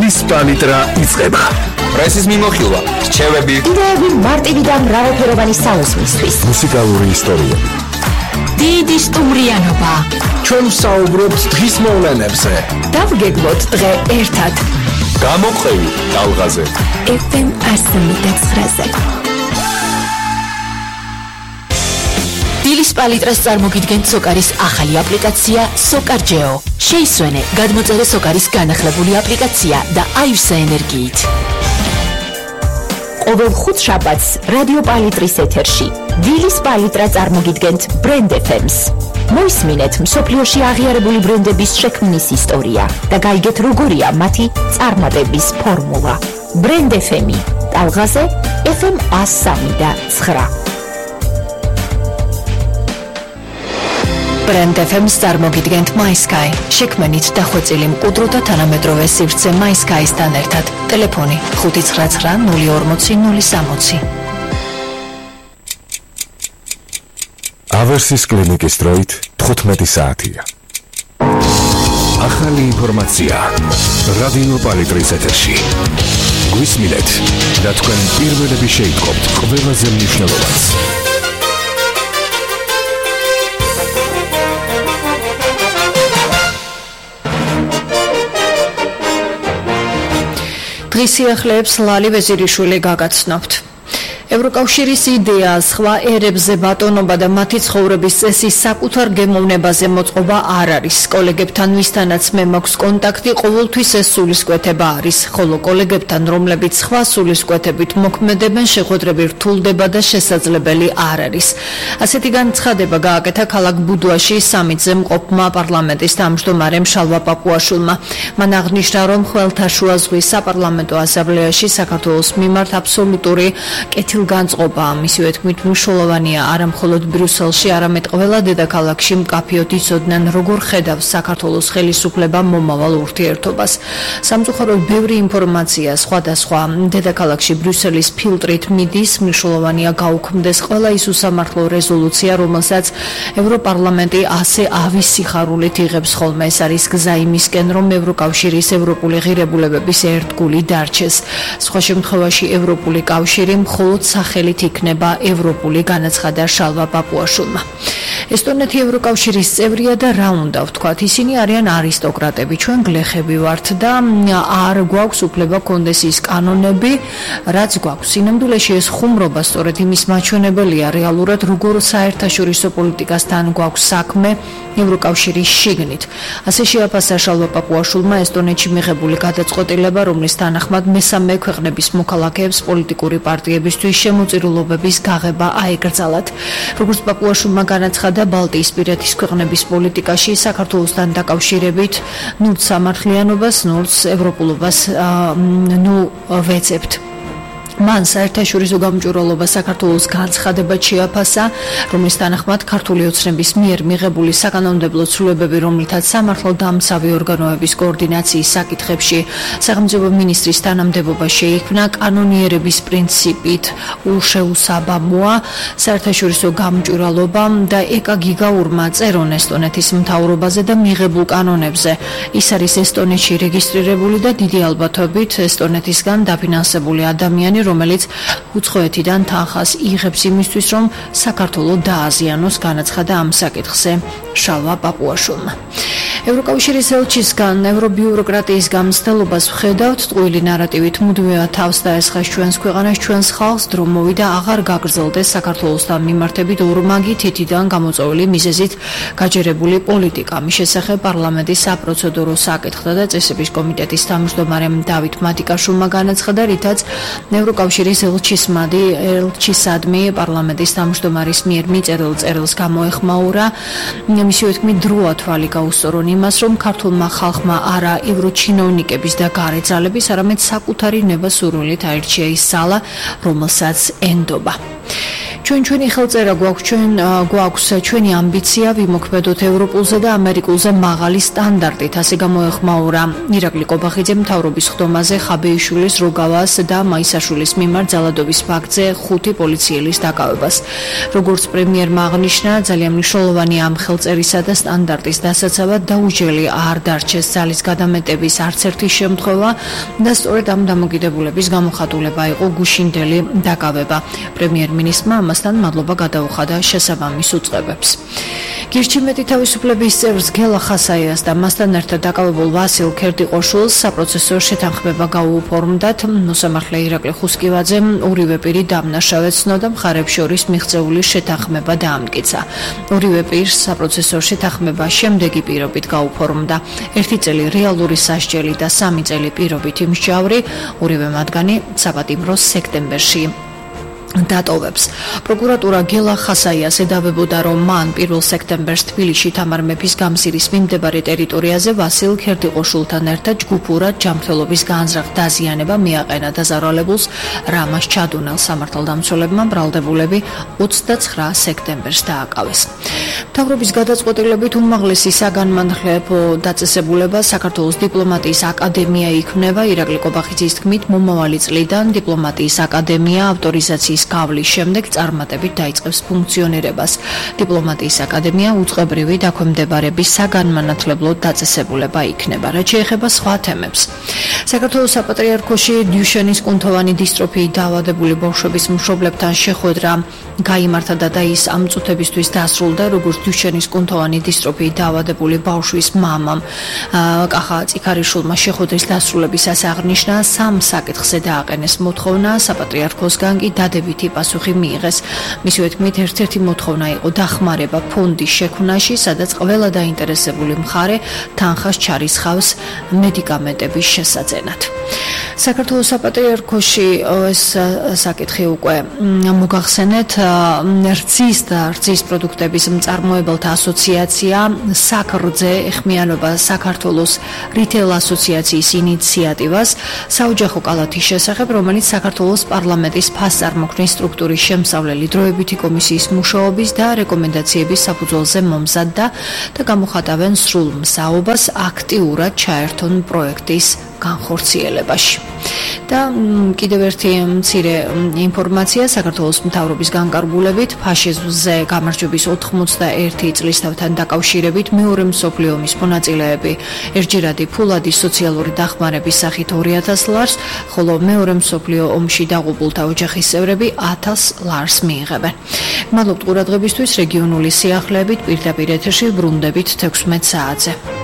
დილის პალიტრა იწყება. პრესის მიმოხილვა, რჩევები, იდეები მარტივი და მრავალფეროვანი საუზმისთვის. მუსიკალური ისტორიები. დიდი სტუმრიანობა. ჩვენ ვსაუბრობთ დღის მოვლენებზე. დავგეგმოთ დღე ერთად. გამოყევი ტალღაზე. FM 109-ზე. დილის პალიტრას წარმოგიდგენთ სოკარის ახალი აპლიკაცია SOCAR-GEO. შეისვენე, გადმოწერე SOCAR-ის განახლებული აპლიკაცია და აივსე ენერგიით. ყოველ ხუთშაბათს რადიო პალიტრის ეთერში დილის პალიტრა წარმოგიდგენთ Brand FM-ს. მოისმინეთ მსოფლიოში აღიარებული ბრენდების შექმნის ისტორია და გაიგეთ როგორია მათი წარმატების ფორმულა. Brand FM-ი ტალღაზე FM 103.9. Brand FM-ს წარმოგიდგენთ MySky. შექმნით დახვეწილი მყუდრო და თანამედროვე სივრცე MySky-სთან ერთად. ტელეფონი 599 040 060. ავერსის კლინიკის დროით 15 საათია. ახალი ინფორმაცია რადიო პალიტრის ეთერში. გვისმინეთ და თქვენ პირველები შეიტყობთ ყველაზე მნიშვნელოვანს. დღის სიახლეებს ლალი ვეზირიშვილი გაგაცნობთ. ევროკავშირის იდეა სხვა ერებზე ბატონობა და მათი ცხოვრების წესი საკუთარ გემოვნებაზე მოწყობა არ არის. კოლეგებთან ვისთანაც მე მაქვს კონტაქტი, ყოველთვის ეს სულისკვეთება არის, ხოლო კოლეგებთან, რომლებიც სხვა სულისკვეთებით მოქმედებენ, შეხვედრები რთულდება და შესაძლებელი არ არის. ასეთი განცხადება გააკეთა ქალაქ ბუდვაში სამიტზე მყოფმა პარლამენტის თავმჯდომარემ შალვა პაპუაშვილმა. მან აღნიშნა, რომ ხმელთაშუა ზღვის საპარლამენტო ასამბლეაში საქართველოს მიმართ აბსოლუტური განწყობა მისივე თქმით მნიშვნელოვანია არა მხოლოდ ბრიუსელში, არამედ ყველა დედაქალაქში მკაფიოდ იცოდნენ, როგორ ხედავს საქართველოს ხელისუფლება მომავალ ურთიერთობას. სამწუხაროდ ბევრი ინფორმაცია სხვადასხვა დედაქალაქში ბრიუსელის ფილტრით მიდის, მნიშვნელოვანია გაუქმდეს ყველა ის უსამართლო რეზოლუცია, რომელსაც ევროპარლამენტი ასე ავის სიხარულით იღებს ხოლმე. ეს არის გზა იმისკენ, რომ ევროკავშირის ევროპული ღირებულებების ერთგული დარჩეს. სხვა შემთხვევაში ევროპული კავშირი მხოლოდ სახელით იქნება ევროპული, განაცხადა შალვა პაპუაშვილმა. ესტონეთი ევროკავშირის წევრია და რა უნდა ვთქვათ, ისინი არიან არისტოკრატები, ჩვენ გლეხები ვართ და არ გვაქვს უფლება კონდეს ის კანონები, რაც გვაქვს. სინამდვილეში ეს ხუმრობა სწორედ იმის მაჩვენებელია რეალურად, როგორ საერთაშორისო პოლიტიკასთან გვაქვს საქმე ევროკავშირის შიგნით. ასე შეაფასა შალვა პაპუაშვილმა ესტონეთში მიღებული გადაწყვეტილება, რომლის თანახმად მესამე ქვეყნების მოქალაქეებს პოლიტიკური პარტიებისთვის შემოწირულობების გაღება აეკრძალათ. როგორც პაპუაშვილმა განაცხადა, ბალტიისპირეთის ქვეყნების პოლიტიკაში საქართველოსთან დაკავშირებით ნულს სამართლიანობას, ნულს ევროპულობას ვეცებთ. მან საერთაშორისო გამჭვირვალობა საქართველოს განცხადებად შეაფასა, რომლის თანახმად ქართული ოცნების მიერ მიღებული საკანონმდებლო ცვლილებები, რომლითაც სამართალდამცავი ორგანოების კოორდინაციის საკითხებში სახელმწიფო მინისტრის თანამდებობა შეიქმნა, კანონიერების პრინციპით უშეუსაბამოა საერთაშორისო გამჭვირვალობამ და ეკა გიგაურმა წერონ ესტონეთის მთავრობაზე და მიღებულ კანონებზე. ის არის ესტონეთში რეგისტრირებული და დიდი ალბათობით ესტონეთისგან დაფინანსებული ადამიანი, რომელიც უცხოეთიდან თანხას იღებს იმისთვის, რომ საქართველო დააზიანოს, განაცხადა ამ საკითხზე შალვა პაპუაშვილმა. ევროკავშირის ელჩისგან ევრობიუროკრატიის გამცდელობას ვხედავთ, ტყუილი ნარატივით მუდმივად თავს დაესხას ჩვენს ქვეყანას, ჩვენს ხალხს, დრო მოვიდა აღარ გაგრძელდეს საქართველოსთან მიმართებით ორმაგი თითიდან გამოწვეული მიზეზით გაჯერებული პოლიტიკა. მის შესახებ პარლამენტის საპროცედურო საკითხთა და წესების კომიტეტის თავმჯდომარემ დავით მატიკაშვილმა განაცხადა, რითაც ევროკავშირის ელჩისადმი პარლამენტის თავმჯდომარის მიერ მიწერილ წერილს გამოეხმაურა. მისივე თქმით, დროა თვალი გაუსწორონ იმას, რომ ქართულმა ხალხმა არა ევროჩინოვნიკების და გარეძალების, არამედ საკუთარი ნება სურვილით აირჩია ის ძალა, რომელსაც ენდობა. ჩვენი ხელწერა გვაქვს ჩვენი ამბიცია ვიმოქმედოთ ევროპულზე და ამერიკულზე მაღალი სტანდარტით, ასე გამოეხმაურა ირაკლი ყობახიძე მთავრობის ხდომაზე ხაბეიშვილის, როგავას და მაისაშვილის მიმართ ძალადობის ფაქტზე 5 პოლიციელის დაკავებას. როგორც პრემიერმა აღნიშნა, ძალიან მნიშვნელოვანი ამ ხელწერისა და სტანდარტის დასაცავად დაუჯელი არ დარჩეს ძალის გადამეტების არც ერთი შემთხვევა და სწორედ ამ დამოკიდებულების გამოხატულება იყო გუშინდელი დაკავება. პრემიერ-მინისტრმა ამასთან მადლობა გადაუხადა შესაბამის უწყებებს. გირჩიმეტი თავისუფლების წევრს გელა ხასაიას და მასთან ერთად დაკავებულ ვასილ ქერდიყოშვილს საპროცესო შეთანხმება გაუუფორმდათ. მოსამართლე ირაკლი ხუსკივაძემ ორივე პირი დამნაშავედ ცნოდა, მხარებს შორის მიღწეული შეთანხმება დაამტკიცა. ორივე პირს საპროცესო შეთანხმება შემდეგი პირობით გაუფორმდა: 1 წელი რეალური სასჯელი და 3 წელი პირობითი მსჯავრი, ორივე მათგანი საპატიმროს სექტემბერში დატოვებს. პროკურატურა გელა ხასაიას ედავებოდა, რომ მან 1 სექტემბერს თბილისში თამარ მეფის გამზირის მიმდებარე ტერიტორიაზე ვასილ ქერდიყოშვილთან ერთად ჯგუფურად ჯანმრთელობის განზრახ დაზიანება მიაყენა დაზარალებულს რამას ჩადუნელ. სამართალდამცველებმა ბრალდებულები 29 სექტემბერს დააკავეს. მთავრობის გადაწყვეტილებით უმაღლესი საგანმანათლებლო დაწესებულება საქართველოს დიპლომატიის აკადემია იქმნება. ირაკლი ყობახიძის თქმით, მომავალი წლიდან დიპლომატიის აკადემია ავტორიზაციის გავლის შემდეგ წარმატებით დაიწყებს ფუნქციონირებას. დიპლომატიის აკადემია უწყებრივი დაქვემდებარების საგანმანათლებლო დაწესებულება იქნება. რაც შეეხება სხვა თემებს, საქართველოს საპატრიარქოში დიუშენის კუნთოვანი დისტროფიით დაავადებული ბავშვების მშობლებთან შეხვედრა გაიმართა და ის ამ წუთებისთვის დასრულდა. როგორც დიუშენის კუნთოვანი დისტროფიით დაავადებული ბავშვის მამამ კახა წიქარიშვილმა შეხვედრის დასრულებისას აღნიშნა, 3 საკითხზე დააყენეს მოთხოვნა, საპატრიარქოსგან კი დადებითი პასუხი მიიღეს. მისივე თქმით, ერთ-ერთი მოთხოვნა იყო დახმარება ფონდის შექმნაში, სადაც ყველა დაინტერესებული მხარე თანხას ჩარისხავს მედიკამენტების შესაძენად. საქართველოს საპატრიარქოში ეს საკითხი უკვე მოგახსენეთ. რძის პროდუქტების მწარმოებელთა ასოციაცია საკრძე ეხმიანება საქართველოს რიტეილ ასოციაციის ინიციატივას საოჯახო კალათის შესახებ, რომელიც საქართველოს პარლამენტის ფასწარმოქმნის სტრუქტურის შემსავლელი დროებითი კომისიის მუშაობის და რეკომენდაციების საფუძველზე მომზადდა და გამოხატავენ სრულ მსაობას აქტიურად ჩაერთონ პროექტის განხორციელებაში. და კიდევ ერთი მცირე ინფორმაცია საქართველოს მთავრობის განკარგულებით ფაშიზმზე გამარჯვების 91 წლისთავთან დაკავშირებით მეორე მსოფლიო ომის მონაწილეები ერთჯერადი ფულადი სოციალური დახმარების სახით 2000 ლარს, ხოლო მეორე მსოფლიო ომში დაღუპულთა ოჯახის წევრები 1000 ლარს მიიღებენ. მადლობთ ყურადღებისთვის. რეგიონული სიახლეებით პირდაპირ ეთერში ბრუნდებით 16 საათზე.